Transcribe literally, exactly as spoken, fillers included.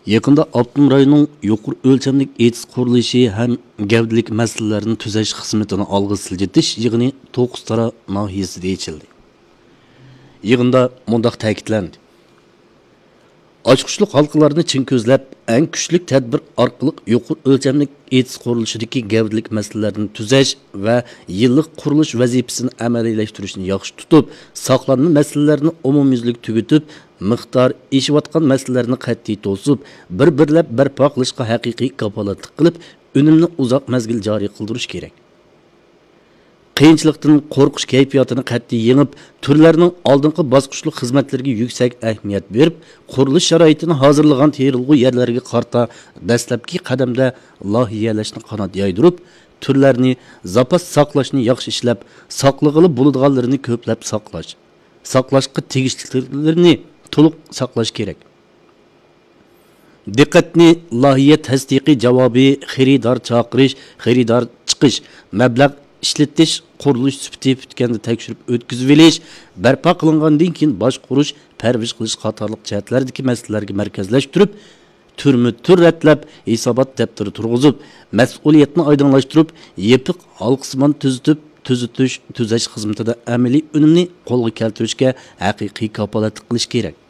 يېقىندا ئاپتونوم رايوننىڭ يۇقىرى ئۆلچەملىك ئېتىز قۇرۇلۇشى ھەم گەۋدىلىك مەسىلىلەرنى تۈزەش خىزمىتىنى ئالغا سىلجىتىش يىغىنى توققۇزتارا ناھىيەسىدە ئېچىلدى. يىغىندا مۇنداق تەكىتلەندى: ئاچقۇچلۇق ھالقىلارنى چىڭ كۆزلەپ، ئەڭ كۈچلۈك تەدبىر ئارقىلىق يۇقىرى ئۆلچەملىك ئېتىز قۇرۇلۇشىدىكى گەۋدىلىك مەسىلىلەرنى تۈزەش ۋە يىللىق قۇرۇلۇش ۋەزىپىسىنى ئەمەلىيلەشتۈرۈشنى ياخشى تۇتۇپ، ساقلانما مەسىلىلەرنى ئومۇميۈزلۈك تۈگىتىپ، مىقدار ئېشىۋاتقان مەسىلىلەرنى قەتئىي توسۇپ، بىر-بىرلەپ بەرپا قىلىشقا ھەقىقىي كاپالەتلىك قىلىپ، ئۈنۈمنى ئۇزاق مەزگىل جارى قىلدۇرۇش كېرەك. قىيىنچىلىقتىن قورقۇش كەيپىياتىنى قەتئىي يېڭىپ، تۈرلەرنىڭ ئالدىنقى باسقۇچلۇق خىزمەتلىرىگە يۈكسەك ئەھمىيەت بېرىپ، قۇرۇلۇش شارائىتىنى ھازىرلىغان تېرىلغۇ يەرلەرگە قارىتا دەسلەپكى قەدەمدە لايىھەلەشنى قانات يايدۇرۇپ، تۈرلەرنى زاپاس ساقلاشنى ياخشى ئىشلەپ، ساقلىغىلى بولىدىغانلىرىنى كۆپلەپ ساقلاش، ساقلاشقا تېگىشلىكلىرىنى تولۇق ساقلاش كېرەك. دىققەتنى لايىھە تەستىقى جاۋابى، خېرىدار چاقىرىش، خېرىدار چىقىش، مەبلەغ ئىشلىتىش، قۇرۇلۇش سۈپىتى پۈتكەندە تەكشۈرۈپ ئۆتكۈزۈۋېلىش، بەرپا قىلىنغاندىن كېيىن باشقۇرۇش، پەرۋىش قىلىش قاتارلىق جەھەتلەردىكى مەسىلىلەرگە مەركەزلەشتۈرۈپ، تۈرمۇ تۈر رەتلەپ، ھېسابات دەپتىرى تۇرغۇزۇپ، مەسئۇلىيەتنى ئايدىڭلاشتۇرۇپ، يېپىق ھالقىسىمان تۈزىتىپ، تۈزىتىش، تۈزەش خىزمىتىدە ئەمەلىي ئۈنۈمنى قولغا كەلتۈرۈشكە ھەقىقىي كاپالەتلىك قىلىش كېرەك.